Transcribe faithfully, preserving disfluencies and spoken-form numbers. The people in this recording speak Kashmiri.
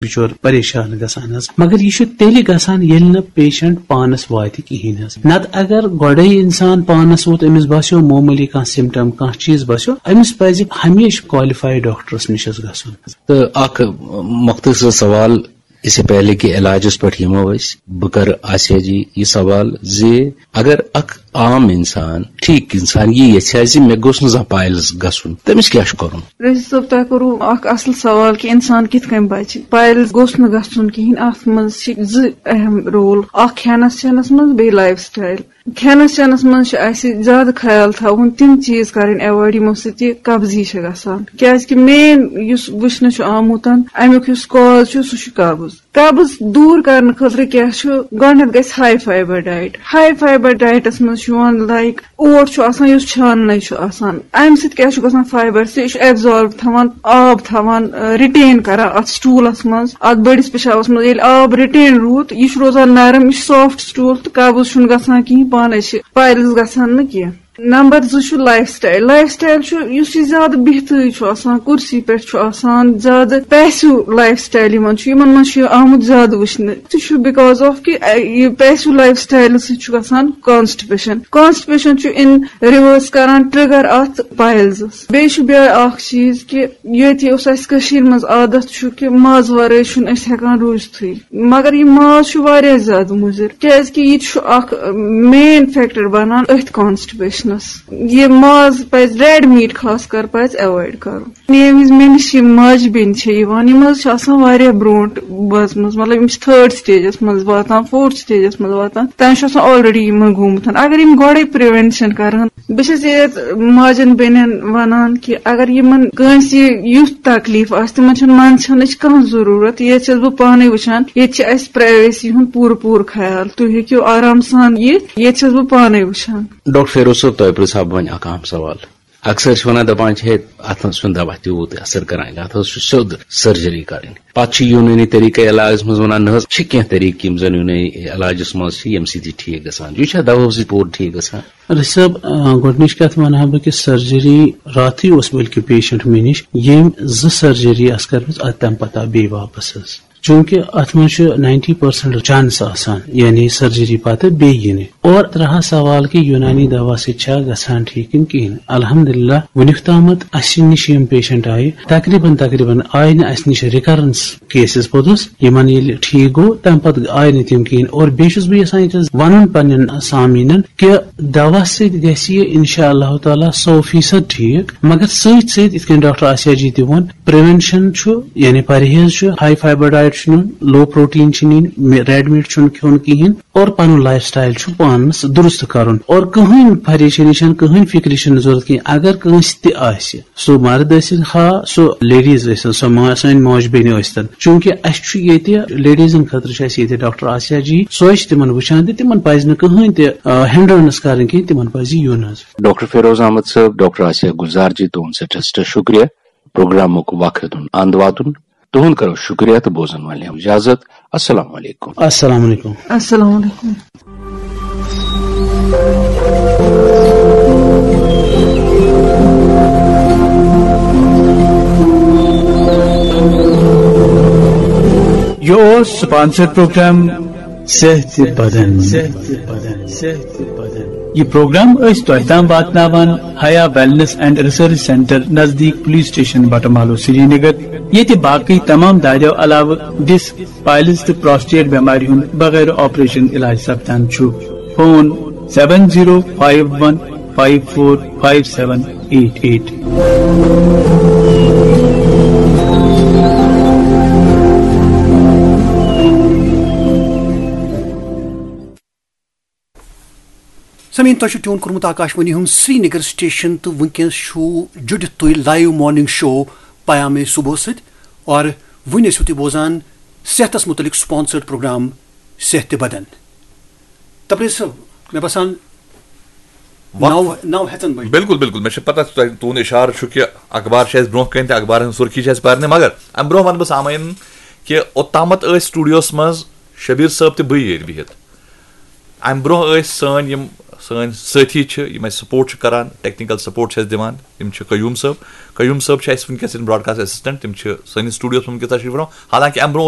بِچور پریشان گژھان حظ۔ مگر یہِ چھُ تیٚلہِ گژھان ییٚلہِ نہٕ پیشنٹ پانس واتہِ کِہیٖنۍ حظ۔ نتہٕ اگر گۄڈے انسان پانس ووت، أمِس باسیو معموٗلی کانٛہہ سمٹم، کانٛہہ چیٖز باسیو، أمِس پزِ ہمیشہِ کالِفایڈ ڈاکٹرس نِش حظ گژھُن۔ تہٕ اکھ مختصر سوال، اس سے پہلے کہ علاجس پٮ۪ٹھ یِمو أسۍ، بہٕ کرٕ آسیا جی یہِ سوال زِ اگر اکھ عام انسان، ٹھیٖک انسان یہِ یژھِ ہا زِ مےٚ گوٚژھ نہٕ زانٛہہ پایلز گژھُن، تٔمِس کیٛاہ چھُ کرُن؟ رشید صٲب، تۄہہِ کوٚروٕ اکھ اصل سوال کہِ انسان کِتھ کٔنۍ بچہِ۔ پایلز گوٚژھ نہٕ گژھُن کِہیٖنۍ۔ اتھ منٛز چھِ زٕ اہم رول، اکھ کھٮ۪نس چٮ۪نس منٛز، بیٚیہِ لایف سٹایل۔ کھٮ۪نس چٮ۪نس منٛز چھُ اسہِ زیادٕ خیال تھاوُن، تِم چیٖز کرٕنۍ ایوایڈ یِمو سۭتۍ یہِ قبضی چھِ گژھان، کیازِ کہِ مین یُس وٕچھنہٕ چھُ آمُت، امیُک یُس کاز چھُ، سُہ چھُ قبض۔ قبض دوٗر کرنہٕ خٲطرٕ کیٛاہ چھُ؟ گۄڈٕنٮ۪تھ گژھِ ہاے فایبر ڈایٹ۔ ہاے فایبر ڈایٹس منٛز چھُ یِوان، لایک، اوٹ چھُ آسان یُس چھاننے چھُ آسان، امہِ سۭتۍ کیٛاہ چھُ گژھان؟ فایبر سُہ چھُ ایبزارب تھاوان، آب تھاوان، رِٹین کران اتھ سٹوٗلس منٛز، اتھ بٔڑِس پِشابس منٛز۔ ییٚلہِ آب رِٹین روٗد، یہِ چھُ روزان نرم، یہِ چھُ سافٹ سٹوٗل، تہٕ قبض چھُنہٕ گژھان کِہیٖنۍ، پانے چھِ پایلز گژھان نہٕ کینٛہہ۔ نمبر زٕ چھُ لایف سٹایل۔ لایف سٹایل چھُ، یُس یہِ زیادٕ بِہتٕے چھُ آسان، کُرسی پٮ۪ٹھ چھُ آسان، زیادٕ پیسو لایف سٹایل یِمن چھُ، یِمن منٛز چھُ آمُت زیادٕ وٕچھنہٕ۔ سُہ چھُ بیکاز آف کہِ، اَ، یہِ پیسو لایف سٹایل سۭتۍ چھُ گژھان کانسٹِپیشن۔ کانسٹِپیشن چھُ ان ریورس کران ٹریگر اتھ پایلزس۔ بیٚیہِ چھُ بیٛاکھ اکھ چیٖز کہِ ییٚتہِ اوس اَسہِ کٔشیٖرِ منٛز عادت چھُ کہِ ماز ورٲے چھُنہٕ أسۍ ہٮ۪کان روٗزتھٕے، مگر یہِ ماز چھُ واریاہ زیادٕ مُضِر، کیازِ کہِ یہِ تہِ چھُ اکھ مین فیکٹر بنان أتھۍ کانسٹِپیشنس۔ یہِ ماز پزِ ریڈ میٖٹ خاص کر پزِ ایوایڈ کرُن۔ ییٚمہِ وِزِ مےٚ نِش یِم ماجہِ بیٚنہِ چھِ یِوان، یِم حظ چھِ آسان واریاہ برونٛٹھ بٲژمٕژ، مطلب یِم چھِ تھٲرڈ سٹیجس منٛز واتان، فورتھ سٹیجس منٛز واتان، تِمن چھُ آسان آلریڈی یِمن گوٚمُت۔ اگر یِم گۄڈے پریونشن کرن، بہٕ چھَس ییٚتہِ ماجٮ۪ن بیٚنٮ۪ن وَنان کہِ اگر یِمن کٲنٛسہِ یُتھ تکلیٖف آسہِ، تِمن چھَنہٕ منٛدچھنٕچ کانٛہہ ضروٗرت۔ ییٚتہِ چھَس بہٕ پانَے وٕچھان، ییٚتہِ چھِ اَسہِ پرایویسی ہُنٛد پوٗرٕ پوٗرٕ خیال۔ تُہۍ ہیٚکِو آرام سان یِتھ، ییٚتہِ چھَس بہٕ پانَے وٕچھان۔ ڈاکٹر فیروز صٲب، تۄہہِ پرٛژھٕ ہا بہٕ وۄنۍ اکھ اہم سوال۔ اکثر چھِ وَنان، دَپان چھِ، ہے، اَتھ حظ چھُنہٕ دَوا تیوٗت اثر کران کینٛہہ، اَتھ حظ چھُ سیوٚد سرجری کَرٕنۍ۔ پَتہٕ چھِ یوٗنٲنی طریٖقے علاجَس منٛز وَنان، نہ حظ، چھِ کینٛہہ طریٖقہٕ یِم زَن یوٗنٲنی علاجَس منٛز چھِ، ییٚمہِ سۭتۍ یہِ ٹھیٖک گژھان چھُ۔ یہِ چھا دَوہو سۭتۍ پوٗرٕ ٹھیٖک گژھان؟ رشید صٲب، آ، گۄڈٕنِچ کَتھ وَنہٕ ہا بہٕ کہِ سرجری راتھٕے اوس بلکہِ پیشنٹ مےٚ نِش، ییٚمۍ زٕ سرجری آسہٕ کٔرمٕژ، اَدٕ تَمہِ پَتہٕ آو بیٚیہِ واپَس حظ۔ چوٗنٛکہِ اَتھ منٛز چھُ ناینٹی پٔرسنٹ چانس آسان، یعنی سرجری پَتہٕ بیٚیہِ یِنہِ۔ اور ترٛاوہا سوال کہِ یوٗنانی دوا سۭتۍ چھا گژھان ٹھیٖک کِنہٕ کِہیٖنۍ؟ الحمدللہ، وُنیُک تامَتھ اَسہِ نِش یِم پیشنٹ آیہِ، تقریباً، تقریباً آیہِ نہٕ اَسہِ نِش ریکرنس کیسز پوٚتُس۔ یِمن ییٚلہِ ٹھیٖک گوٚو، تَمہِ پَتہٕ آیہِ نہٕ تِم کِہیٖنۍ۔ اور بیٚیہِ چھُس بہٕ یَژھان ییٚتہِ حظ وَنُن پننٮ۪ن سامعیٖنن کہِ دوا سۭتۍ گژھِ یہِ اِنشاء اللہ تعالیٰ سو فیصد ٹھیٖک، مگر سۭتۍ سۭتۍ، یِتھ کٔنۍ ڈاکٹر آسیا جی تہِ ووٚن، پریونشن چھُ، یعنی پرہیز چھُ، ہائی فائبر ڈائٹ چھُ نیُن، لو پروٹین چھُ نِنۍ، می-، ریڈ میٖٹ چھُنہٕ کھیوٚن کِہیٖنۍ، اور پنُن لائف سٹائل چھُ پانس درست کرُن، اور کٕہٕنۍ پریشٲنی چھَنہٕ، کٕہٕنۍ فکرِ چھَنہٕ ضروٗرت کِہیٖنۍ۔ اگر کٲنٛسہِ تہِ آسہِ، سُہ مرد ٲسِن خا، سُہ لیڈیز ٲسِن، سۄ ما-، سٲنۍ ماجہِ بیٚنہِ ٲسۍتن، چوٗنٛکہِ اَسہِ چھُ ییٚتہِ لیڈیزن خٲطرٕ چھُ اَسہِ ییٚتہِ ڈاکٹر آسیا جی، سۄے چھِ تِمن وٕچھان تہٕ تِمن پزِ نہٕ کٕہٕنۍ تہِ، آ، ہنڈرنس کرٕنۍ کِہیٖنۍ، تِمن پزِ یُن حظ۔ ڈاکٹر فیروز احمد صٲب، ڈاکٹر آسیا گلزار جی، تُہُنٛد سٮ۪ٹھاہ سٮ۪ٹھاہ شُکریہ پروگرامُک وقت دیُن، اند واتُن۔ تُہُنٛد کرو شُکریہ تہٕ بوزن والٮ۪ن اجازت۔ السلام علیکم۔ السلام علیکم۔ السلام علیکم۔ یہِ اوس سپانسر پروگرام صحت بدن۔ یہِ پروگرام ٲسۍ تۄہہِ تام واتناوان حیا ویلنس اینڈ ریسرچ سینٹر نزدیٖک پولیس سٹیشن بٹہٕ مالو سرینگر، ییٚتہِ باقٕے تمام دادیو علاوٕ ڈسک، پائلز تہٕ پراسٹیٹ بٮ۪مارِ ہُنٛد بغٲر آپریشن علاج سپدان چھُ۔ Phone seven zero five one five four five seven eight eight. سمعین، تۄہہِ چھُ ٹیون کوٚرمُت آکاش وانی ہُنٛد سرینگر سٹیشن تہٕ وٕنکیٚنس چھُو جُڑِتھ تُہۍ لایو مارننگ شو پیام صبح سۭتۍ، اور وٕنۍ ٲسِو تُہۍ بوزان صحتس متعلق سپانسرڈ پروگرام صحت بدن۔ تبریز صٲب، مےٚ باسان وق-، نو، نو ہٮ۪ژن بجہِ۔ بِلکُل، بِلکُل، مےٚ چھِ پتہ تۄہہِ، تُہُنٛد اِشارٕ چھُ کہِ اخبار چھِ اَسہِ برونٛہہ کَنہِ تہٕ اخبارن ہٕنٛز سُرخی چھِ اَسہِ پرنہِ، مگر اَمہِ برونٛہہ وَنہٕ بہٕ سامعیٖنن کہِ اوٚتامَتھ ٲسۍ سٹوڈیوَس منٛز شبیٖر صٲب تہٕ بٕے ییٚتہِ بِہِتھ۔ اَمہِ برونٛہہ ٲسۍ سٲنۍ یِم سٲنۍ سٲتھی چھِ، یِم اَسہِ سپورٹ چھِ کران، ٹیکنیکل سپورٹ چھِ اَسہِ دِوان، تِم چھِ قیوٗم صٲب۔ قیوٗم صٲب چھِ اَسہِ وٕنکیٚس یِم براڈکاسٹ اسسٹنٹ، تِم چھِ سٲنِس سٹوڈیوَس منٛز وٕنکیٚس تشریٖف فرما۔ حالانکہ اَمہِ برونٛہہ اوس